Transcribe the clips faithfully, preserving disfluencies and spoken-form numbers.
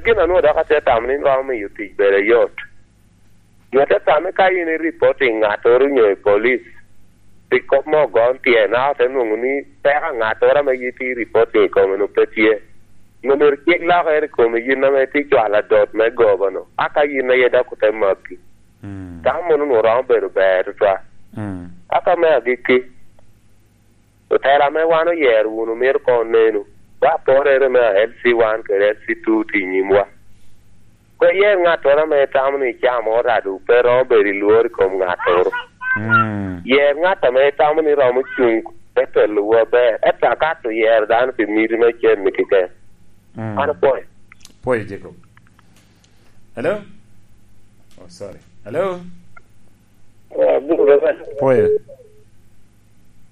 Gin a nwoŋo dok atye tamo ni romo miyo tic bedo yot. Nyo te tamme ka in i reporting ŋattoro nyo i police, pi kop mo ogon tyen, a ote nwoŋo ni peko a ŋattoro ame yin tye i reporting i kome-nu pe tye. Nyo myero cik lokere i komi yin ame itye cwalo adot me goba-nu, a ka yin aye dok ote maki. Mm. Tam mono onwoŋo romo bedo ber tutwal. Mm. Aka me agikki, otela ame wan oyero wunu myero koŋ onenu, wa porere me L C one kede L C two tye i nyimwa. Pe iyer ŋattoro ame itamo ni icamo orado, pe romo bedo i lworo i kom ŋattoro. Mm. Yer ŋat ame itamo ni romo cuŋ te telowu aber, ento akato yero dano pi miti me cen-ni keken. Mm. An apwoyo. Pwoyo, Jacob. Hello? Oh, sorry. Hello? Oh, abuto baba. Pwoyo.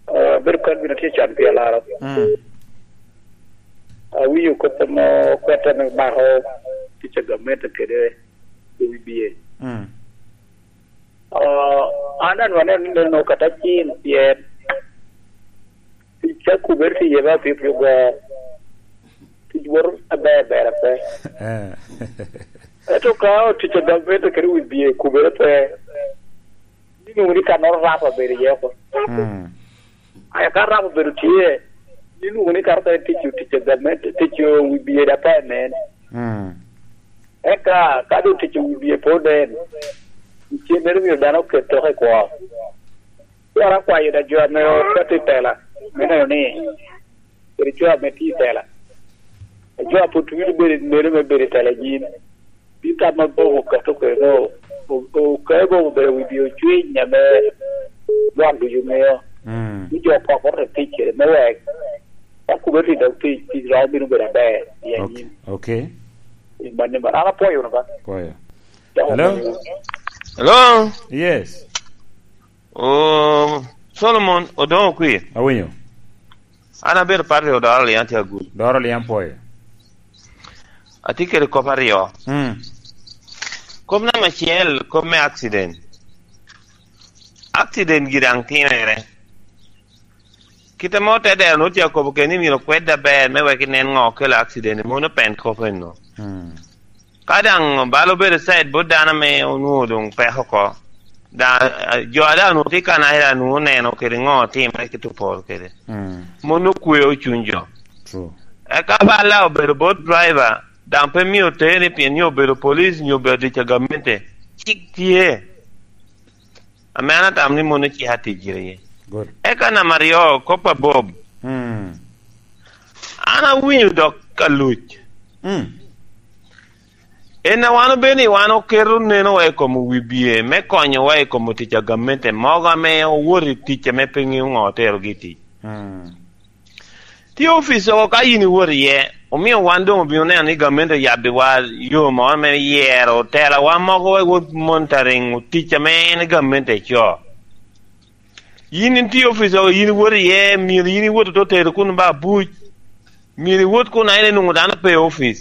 Oh, abedo kony bino tye can pi alaro. Mm. Awinyo kop amo kwete me mako tic a gamente kede i wi bye. Mm. Oh, an anwone ni neno kata cin pien tic a kubere tye iye ba pio pio go. Tic woto aber ber ape. Eh. Ento ka otic a gamente kede wi bye kubere pe, ni nwoŋo ni kannoro rap abedo iye oko. Mm. Aya ka rap obedo tye, ni nwoŋo ni kato ka tic otic a gamente, tic wi bye da pe nen. Mm. Eka ka doŋ tic wi bye pe onen, cennere myero dano oket toko i kwo. Twara akwayo da jo ame oketo i tela, me neno ni kede jo ame tye i tela, jo a pwod twero bedo, neno me bedo i tela i nyim. Pi tam ma Bobo okato kwede, o-, o-, okae Bobo obedo wi bye ocwiny ame lwak ducu ŋeo. Mm. Ni jo oko ote tic kede me wek ka kubere tye dok tic, tic romo bino bedo aber i anyim. Ok. I manni man, an apwoyo wunu ba. Pwoyo. Dok Hello? Apwoyo. Hello? Yes. Oh, Solomon, Odongo Kwir. Awinyo. An abedo pat i Odoro Lian tye Agulu. Doro Lian pwoyo. Atye kede kop aryo. Mm. Kop namba acel, kop me accident. Accident gire daŋ timere. Kite mo te dero nwoŋo tye akobo keni myero okwed aber me wek inen ŋo okelo accident, mono pen kop eno. Mm. Ka daŋ bal obedo side bot dano ame onwoŋo doŋ peko oko, daŋ, eh, jo a daŋ onwoŋo tye i kanaca daŋ onwoŋo oneno kede ŋo otimere kit oporo kede. Mm. Mono okweo cuny jo. True. Eka bal daŋ obedo bot driver, daŋ pe myero otere pien nyo obedo police nyo obedo tic a gamente. Cik tye. Ame an atamo ni mono cik atic gire iye. Good. Eka namba aryo, kop a Bob. Mm. An awinyo dok ka luc. Mm. En a wan obedo ni wan oketo nenowa i kom wi bye me konyowa i kom tic a gamente mogo ame owoto i tic ame pe ŋeo ŋo oterogi i tic. Mm. Tye opic oko ka yin iwot iye, omio wan doŋ obino neno ni gamente oyabbiwa yo moro me yero otelawa mogo wek wot monitoring tic ame en gamente co. Yin in tye opic oko, yin iwot iye, myero yin iwot ote tero kun ba abuc. Myero iwot kun a en enwoŋo dano pe i opic.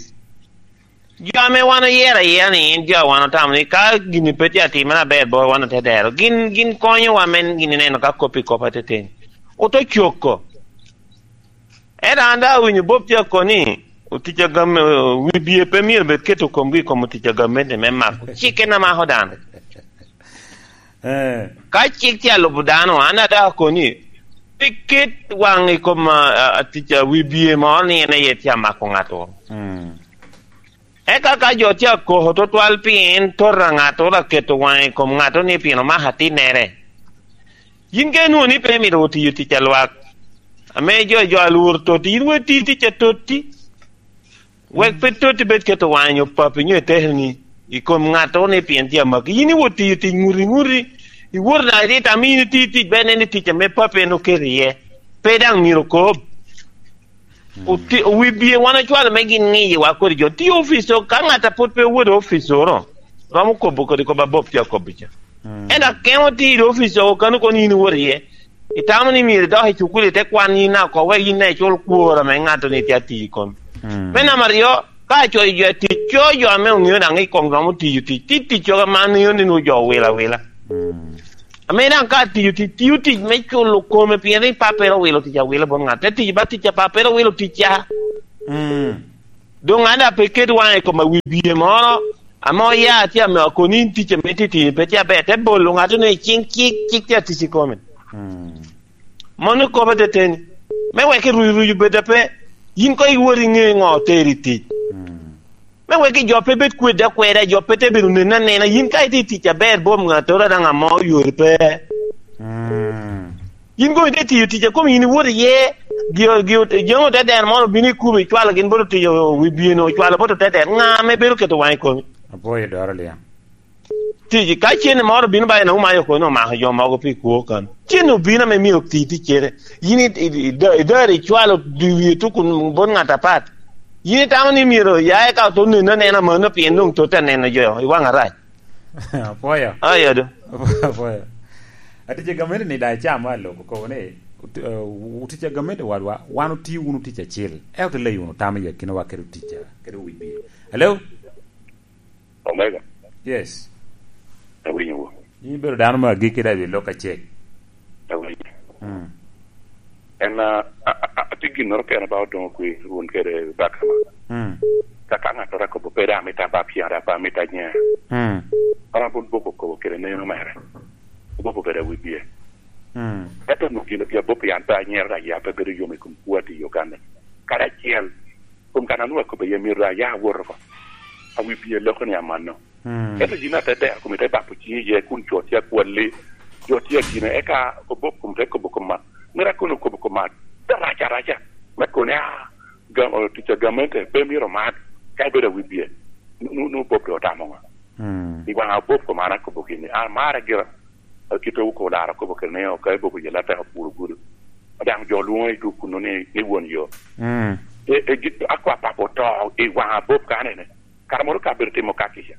Jo ame wan oyero ayera ni en jo a wan otamo ni ka gini pe tye atimere aber bot wan ote dero, gin, gin konyowa me gin neno ka kop i kop ateteni. Oto coko. Ento an daŋ awinyo Bob tye akoni, otic a gam-, wi bye pe myero bed keto komgi i kom otic a gamente me mako. Cik en amako dano. Eh. Ka cik tye alubo dano, an daŋ akoni, pe ket waŋ i kom, a, a, atic a wi bye moro ni en aye tye amako ŋato. Mm. Eka ka jo tye akoko tutwal pien tota ŋato oketo waŋe i kom ŋato ni pien omako atinnere, yin ka inwoŋo ni pe imito tiyo tic a lwak, ame jo, jo alwor totti, yin wek ti tic a totti. Wek pe totti bed keto waŋe nyo papi nyo etekeni i kom ŋato ni pien tye amaki. Yin iwot tiyo tic ŋuti ŋuti, iwot daŋ iti tam yin itiyo tic, ber nen ni tic ame papi en oketo iye, pe daŋ myero okob. Mm. Oti-, wi bye wan ocwalo me gin ŋiyiwa kodi jo. Tye opico, ka ŋat a pwod pe owoto opico-ro, romo kobo kodi kop a Bob tye akobo ca. Mm. Ento akemo tye i opico kano kono in iwoto iye. Itamo ni myero idok i cukul ite kwan yin oko, wek yin daŋ icul kwor ame ŋato ni tye atiyo i kom. Mm. Me namba aryo, ka acoyo jo atic, co jo ame oŋeo daŋ i kom romo tiyo tic. Tye tic coga ma an ŋeo ni nwoŋo jo owilo awila. Mm. Ame daŋ ka tiyo tic, tiyo tic me culo kome, pien ni pappere owilo tic awila bot ŋat. Te tic ba tic a pappere owilo tic ca. Mm. Doŋ an daŋ pe ket waŋe i kom awi bie moro, ame oya tye ame okoni in tic ame tye tye pe tye aber, te bolo ŋato ni cing cik, cik tye atic i kome. Mm. Mono kobo teteni. Me wek i rucu rucu bed ape, yin koŋ iwot iŋe ŋo oteri i tic. Mm. Me wek i jo pe bed kwedde akweda, jo pe te bedo nene anena, yin ka itye i tic aber bom ŋattoro daŋ amo yori pe. Mm. Yin koŋ ite tiyo tic a kom yin iwot iye, gio, gio, jami ote deno moro obino i kubo icwalo gin bot otiyo wi bino, ocwalo bot ote deno. Ŋa ame bedo keto waŋ i komi? Apwoyo doro liang. Tic, ka cen moro obino ba en omayo kono omako jo mogo pi kwo kan. Cen obino ame mio ti ticere. Yin i, i, i, idar icwalo dwi wie tuku bot ŋat apat. Yin itamo ni myero ya eka oto neno anena mano pien doŋ totte aneno jo i waŋ arac. Apwoyo. Ayo do. Apwoyo. Atic a gamente ni daŋ icamo aloko kobo ni, ut-, eh, utic a gamente wadwa, wan otio wunu tic acil. Ento te leyo wunu tam i akinawa kede tic a, kede wi bie. Hello? Omega. Yes. Awinyo wo. In ibedo dano me agikki daŋ i lok acel. Awinyo. Mm. En, a, a, a, atye ginnoro kene ba odoŋo kwi run kede baka ma. Mm. Ka, ka ŋattoro akobo pe daŋ amito aba pyere, aba amito anyera. Mm. An abon boko kobo kede neno mere. Obobo bedo awi bie. Mm. Ento onwoŋo gin pi abopo yan pe anyera daŋ ya pe bedo yom i kom kwo ati i Uganda. Kadi acel, kom kan anwoŋo akobo iye myero daŋ ya awot oko. Awi bie loko ni amanno. Mm. Ento yin ate dero kome te bapo ciŋi iye kun co tye akwalli, jo tye agine, eka obok kom te kobo kom man. Mera kono okobo kom man, te rac araca, me kone, ah, gam-, o, tic a gamente pe myero omat, ka ibedo awi bie, nu-, nu-, nu Bob doŋ otamo ŋo? Mm. I waŋa Bob kom an akobo gini, an amarre gira, a, kite wu kolaro akobo kede ni, o, ka ibobo yela tek opuro gudo. Daŋ jo lwoŋo i duk kuno ni, ni won yo. Mm. E, e, gi-, akwa papa oto i waŋa Bob ka anene. Kara moro ka bedo timo ka kica.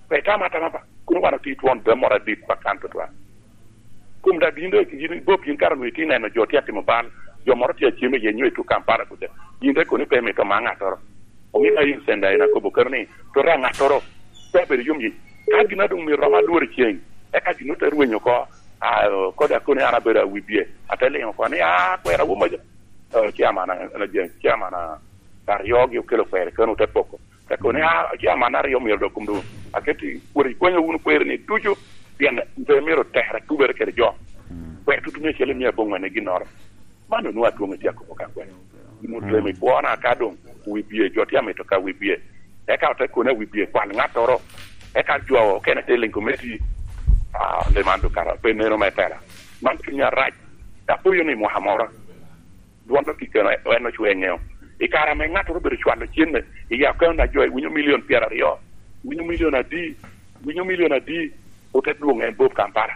Pe tam atama ba. Kun wan otye twon dwe moro adit pa kan tutwal. Kun daŋ yin dok, yin Bob, yin kara onwoŋo itye neno jo tye atimo bal, jo moro tye acem iye nyo i tuk Kampala kuca. Yin te kono pe imito ma ŋattoro. Omio ka in senda en akobo kano ni, to re ŋattoro, pe abedo yom yi. Ka gin a doŋ myero rom alwor i ceng, eka gin ote rweny oko, a, kodi akono an abedo awi bie, ate liŋo oko ni, a, kwera wo maja. Eh, chairman, eh, chairman, ah, aryo gi okelo kwero kano ote poko. Te kono ni, "Ah, chairman aryo myero dok kom doŋ aketi, wot ikwanyo wunu kwero ni ducu, pien pe myero tere tubere kede jo." Mm. Kwero tutu mia acel i mia aboŋwen i ginnoro. Man onwoŋo adwoŋ itye akobo ka kwero. Gin otemo i kwona ka doŋ wi bie, jo tye amito ka wi bie. Eka ote kono wi bie kwal ŋattoro. Eka jo okene te liŋ komiti, ah, onde man dok kara pe neno me tela. Man cunya rac. Apoyo ni mwaka moro. Dwon dok i keno en ocwe ŋeo. I kare ame ŋattoro obedo cwalo cenne, i akaunt a jo, iwinyo milion pyeraryo, iwinyo milion adi, iwinyo milion adi, ote dwoŋ en Bob Kampala.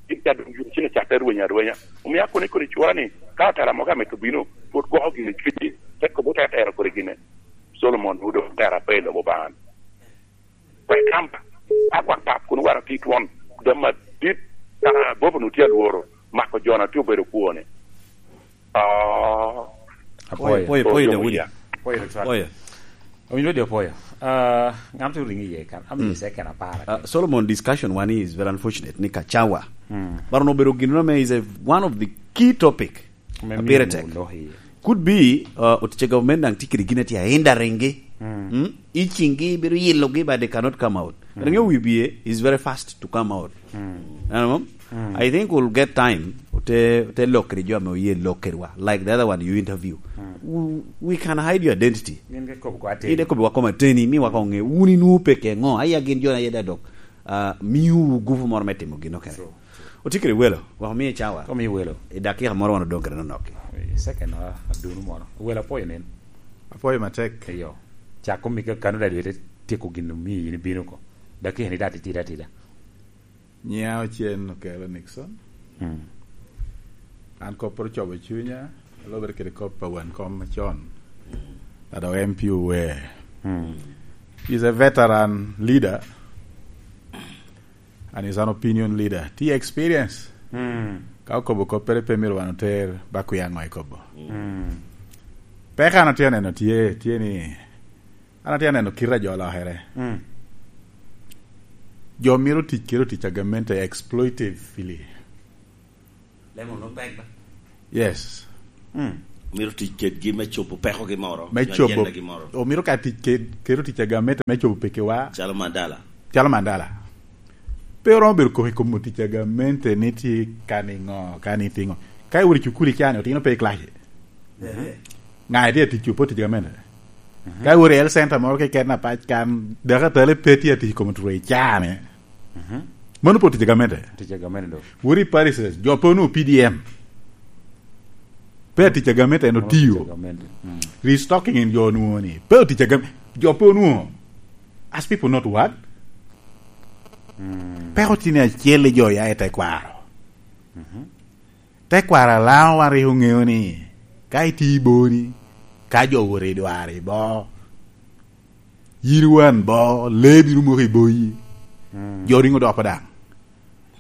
Gin ca doŋ yun cen ocatte rweny arwenya. Omio akono i kodi cwora ni, ka otela mogo amito bino, pwod gwoko gin i cwinyi, te kobo te tero kodi gine. Solomon, odo tera pe i lobo Obaŋa. Kwek kamba, ka gwak pap kun wara tye twon, dam adit, kara Bob onwoŋo tye alworo, mako jo-na tye obedo kwone. Ah. Apwoyo. Apwoyo, apwoyo, Daudi. Apwoyo, Lutwal. Apwoyo. Owinjo di apwoyo. Ah, ŋam tye oringo iye kan. Am Mm. iye second apar. Ah, Solomon, discussion wani is very unfortunate ni kacawa. Mm. But onwoŋo obedo gino me is a, one of the key topic. Me Abiro miyo tek. Lok iye. Could be, uh, otic a government daŋ tye kede gin a tye a hindering-gi. Mm. Mm? Itching-gi, biro yilogi, but they cannot come out. Mm. But ŋeo wi bie is very fast to come out. Mm. You know? Mm. I think we'll get time, te, te lok kede jo ame oye lok kedwa. Like the other one you interview. Mm. We, we can hide your identity. Gin ke kobo kwa ateni. Gin ke kobo wa koma ateni, mi wa kong ŋe, wun inwoŋo pe ke ŋo? Aya gin jo na yeda dok. Ah, miwu gupu moro me timo gin okene. True, true. Otye kede welo, wek omiye cawa. Omiye welo. I dakika moro wan odoŋ kede nonok-ki. Eh, second, ah, adunu moro. Welo apwoyo nen. Apwoyo matek. Eyo. Cak omi ka kano daŋ dwe te tyeko gin omiyo in ibino oko. Dakika ni daŋ titidi atida. Nyiŋa Ocen Okelo Nixon. Mm. An kop pwod ocobo cunya, alobere kede kop pa wan kom macon. Ado M P Uwe. Mm. He's a veteran leader. And he's an opinion leader. Tye experience. Mm. Ka okobo koppere pe myero wan oter ba kwiya ŋo ekobo. Mm. Peko an atye aneno tye, tye ni, an atye aneno kite a jo olokere. Mm. Jo mito tic kede otic a gamente exploitively. Lemon no pek ba? Yes. Mm. Myero tic kedgi me cobo pekogi moro, Me nyo cobo, ajendagi moro. Omyero ka tic ked-, keto tic a gamente me cobo pekkiwa. Calo Mandala. Calo Mandala. Pe oromo bedo koko i kom tic a gamente ni tye ka niŋo, ka ni tiŋo. Ka iwot i cukul i can, otino pe i kilaci. Ehe. Ŋa itye atic, opo tic a gamente? Ehe. Ka iwot i health center moro keken apac kan, dakatale pe tye atic i kom two i can-ni. Mhm. Mano pe tic a gamente. Tic a gamente do. Wot i parishes, jo pe onwoŋo P D M. Pe tic a gamente, en otiyo. Tic a gamente. Mm. Restocking en jo onwoŋo ni. Pe tic a gam-, jo pe onwoŋo. As people not work? Mm. Pe otino acel i jo ya i tekwaro. Mhm. Tekwaro a Laŋo wan rik oŋeo ni, ka itye i boni, ka jo owoto i dwaro i bo, yin iwan bo, lee bino moko i boyi. Mm. Jo riŋo dopo daŋ.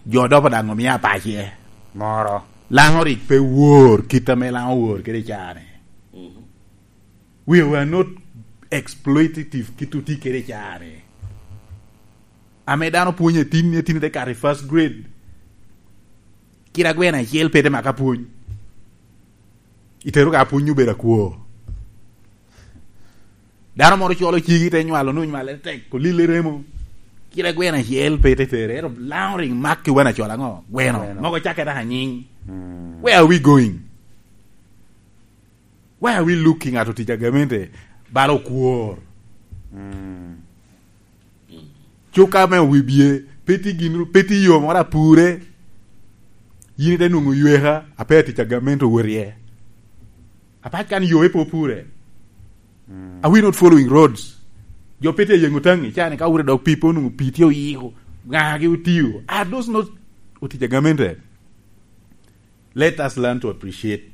Jo dopo daŋ omio apace. Moro. Laŋo rik pe wor kit ame Laŋo wor kede i caa-ni. Mhm. We were not exploitative kit otye kede i caa-ni. Ame dano pwonyo atin, atin te kato i first grade. Kit agweno acel pe te maka pwony. Itero ka pwony obedo akwo. Dano moro colo cigi te nywalo, nwoŋo nywale tek, olille remo. Kit agweno acel pe te tere, ento Laŋo rik mak ki wan acol aŋo? Gweno. Gweno. Mogo cakke dok anyiŋ. Mm. Where are we going? Why are we looking at otic a gamente bala okwor? Mm. Cuka me wi bye, pe tye gin, pe tye yo moro apure. Yin ite nwoŋo yweka, ape atic a gamente owot iye. Apac kan yo pe opure. Mm. Are we not following roads? Jo pe tye ayeŋo taŋi, cani ka wure dok pi pe onwoŋo pi tye oyiko, ŋagi otiyo. Are those not otic a gamente? Let us learn to appreciate.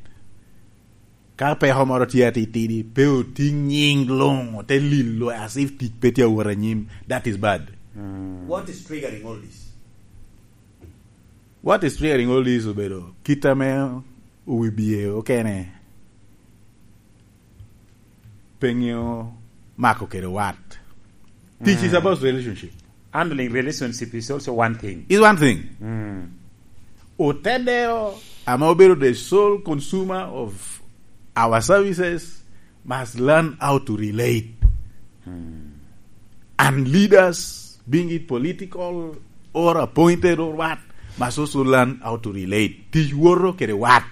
Ka peko moro tye atitidi, pe otiŋ nyiŋ luŋ, ote lilo as if tic pe tye awot anyim. That is bad. Mm. What is triggering all this? What is triggering all this obedo kit ame owi bye okene pe ŋeo mako kede wat. Tic is about relationship. Handling relationship is also one thing. Is one thing. Mm. Otedeo, ame obedo the sole consumer of our services, must learn how to relate. Mm. And leaders, being it political or appointed or what, must also learn how to relate. Tic woto kede wat.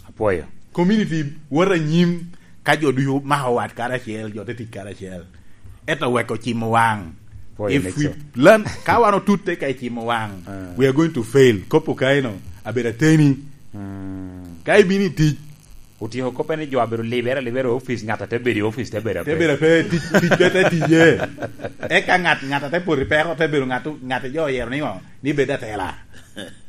Apwoyo. Community woto anyim ka jo ducu mako wat karacel, jo te tic karacel. Ento wek ocimo waŋ. Apwoyo, if we learn, ka wan otutte ka icimo waŋ, ah, we are going to fail. Kopo ka eno, abedo ateni. Mm. Ka ibino i tic, otyeko kop ni jo abedo libere alibera i opic, ŋat a te bedo i opic te bedo ape. Te bedo ape, tic, tic pe te tiye. Eka ŋat, ŋat a te poto i peko te bedo ŋat, ŋat a jo oyero ni ŋo? Ni bed atela.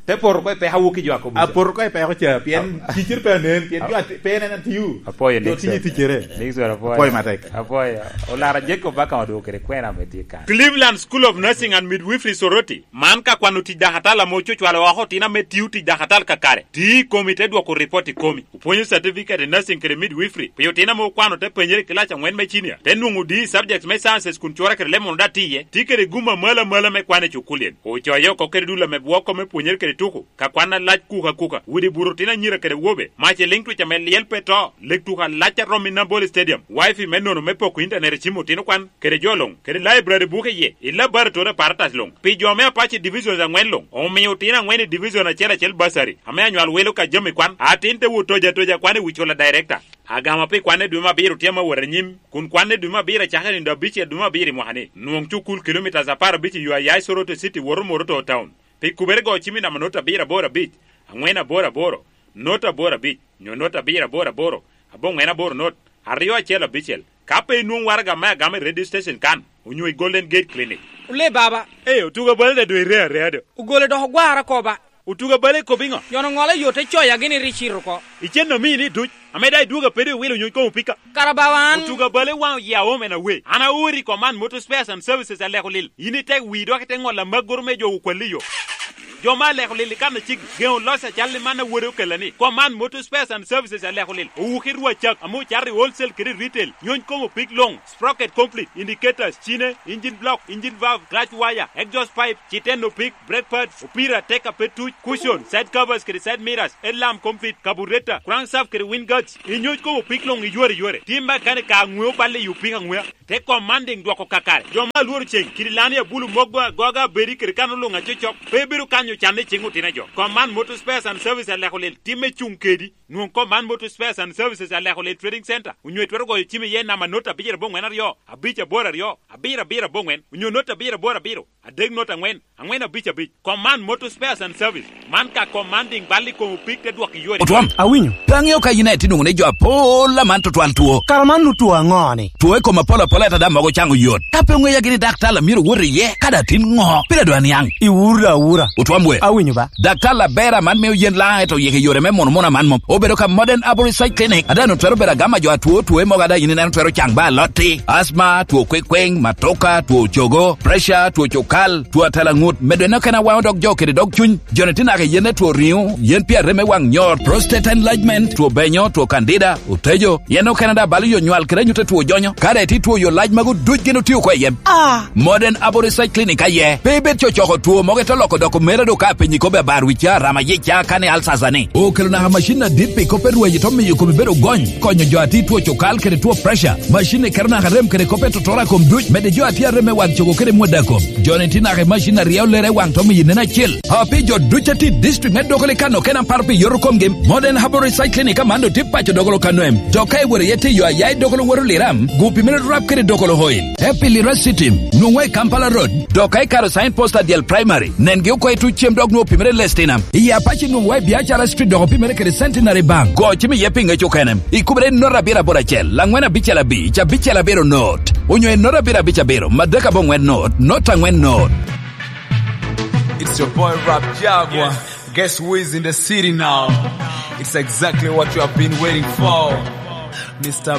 Te poto oko i peko, awok ki jo akobo ca. Apoto oko i peko ca, pien ticere pe anen, pien jo ati-, pe en en atiyo. Apwoyo, jo Nixon. Tiyo ticere. Nixon, apwoyo. Apwoyo matek. Apwoyo. Olara Jacob Baka odwogo kede kwena ame tye kan. Cleveland School of Nursing and Midwifery Soroti. Man ka kwano tic dakatal ame ococwalo oko otino ame tio tic dakatal kakare. Ti i komi te dwoko ripot i komi. Opwonyo certificate in nursing kede midwifery pi otino ame okwano te penyere i kilac aŋwen me cinia, te nwoŋo D E subjects me sciences kun corre kede lemon daŋ tye iye, tye kede gum amalo amalo me kwan i cukulien. Ocoye oko kede dul ame bwoko me pwonyere kede tuko, ka kwan alac kuka kuka, udi buto otino anyira kede awobe, mac i liŋ twic ame lyel pe to, lek tuko alac a romo i Nambole Stadium, wifi me nono me poko intanet i cim otino kwan, kede jo luŋ, kede library buke iye, i laboratory apparatus luŋ. Pi jo me Apache Divisions aŋwen luŋ, omio otino aŋwen i division acel acel bursary, ame anywal welo ka jami kwan, atin te wot toja toja kwan i wi cula director. Agama pi kwan i dwe me abiro tye ame wot anyim, kun kwan i dwe me abiro acakere nino abicel dwe me abiro i mwaka ni. Nwoŋ cukul kilometres apar abic i yo a ya i Soroti City woto Moroto Town. Pi kubere go cim i namba not abiro aboro abic, aŋwen aboro aboro, not aboro abic, nyo not abiro aboro aboro, aboŋwen aboro not, aryo acel abicel. Ka pe inwoŋ waraga me agama i radio station kan, onyo i Golden Gate Clinic. Ole baba. Ee, otuga bale daŋ doŋ irea areya do. Ogole dok ogwara oko ba. Otuga bale ikobo iŋo? Nyono ŋolo yo te coya gini ri cito oko. Icen omini duc, ame daŋ idwogo apede iwilo nyony koŋ opika. Kara bawa an. Otuga bale waŋ oye aom en awe. An aori i kom an Motor Spares and Services aleko lil. In itek wii dok ite ŋolo amaggoro me jo okwalli yo. Jo me aleko lil i kan aciki, geŋo loc acal i man a wode okella ni, Command Motor Spares and Services aleko lil, owuki rwacak ame ocato i wholesale kede i retail, nyony kom opik luŋ, sprocket complete, indicators, cine, engine block, engine valve, clutch wire, exhaust pipe, citen opik, brake pads, opira, tek a pe tuc, cushion, side covers kede side mirrors, headlamp complete, carburetor, crankshaft kede wind guards, inyony kom opik luŋ iyore yore. Tim mechanic ka aŋweo balle i opik aŋwea. Te Commanding dwoko kakare. Jo me alworo ceŋ, kidi lani abulu mogo agoga abedi kede kan oluŋ acocok, pe bedo kanyo canne i ceŋ otino jo. Command Motor Spares and Services aleko lel timme cuŋ kedi. Nwoŋ Command Motor Spares and Services aleko lel Trading Center, onyo itwero goyo cim iye namba not abicel aboŋwen aryo, abic aboro aryo, abiro abiro aboŋwen, onyo not abicel aboro abiro, adek not aŋwen, aŋwen abic abic. Command Motor Spares and Service. Man ka Commanding bal i kom opik te dwok i yore. Otwam. Awinyo. Pe aŋeo ka yin aye tye nwoŋo ni jo apol aman tutwal two. Kara man nu two aŋo ni? Two i kom apol apol ata daŋ mogo caŋo yot. Ka pe oŋeya gini daktar a myero wot iye, ka daŋ tin ŋo? Pire dwa niaŋ. Iwura awura. Otwam we. Awinyo ba. Daktar aber aman mio yen laŋ eto yeke yore me mono mono aman mom. Obedo ka Modern Arborist Clinic. Ada no twero bedo agama jo atwo two mogo ada yin ineno twero caŋ ba alotti. Asma, two kwekweng, matoka, two cogo, pressure, two cukal, two atalaŋut, medo eno kena waŋo dog jo kede dog cuny. Joni tye naka i yen ne two riŋo, yen pi arem me waŋ nyot, prostate enlargement, two benyo, two candida, otejo, yen okene daŋ balo yo nywal kede anyut a two jonyo. Ka daŋ itye two yo lac magu duc gin otio oko i yem. Ah! Modern Abo Research Clinic aye. Pe ibed cocoko two mogo ite loko doko mere do ka apenyi kobbe abar wi ca, rama yic ca, kani alsasa ni. Okelo naka macin adit pi kop pe rweny ito miyo kome bedo gony, konyo jo a tye two cukal kede two pressure. Macin ni keto naka rem kede kop pe totora kom duc, mede jo a tye arem me waŋ cogo kede mwada kom. Joni tye naka i macin a ryeo lere i waŋ to miyo nen acel. A pi jo duc a tye i district me Dokoli kano kena paro pi yoto komgi, Modern Herbal Research Clinic aman doŋ tye paco Dokolo kano em. Dok ka iworo iye tiyo aya i Dokolo woto Liram, gu pi mene rap kede Dokolo Oil. Happy Lira City, nwoŋwa i Kampala Road. Dok ka ikaro sign post a dyel primary, nengi oko i tuc cem dok nwoŋo pi mene Lestina. I Apache nwoŋwa i Biacara Street dok pi mene kede Centenary Bank. Go cim iye pi ŋec okene. Ikubere i not abiro aboro acel, laŋwen abicel abic, abicel abiro not. Onyo i not abiro abic abiro, madek aboŋwen not, not aŋwen not. It's your boy Rap Jaguar. Yes. Guess who is in the city now? It's exactly what you have been waiting for. Mister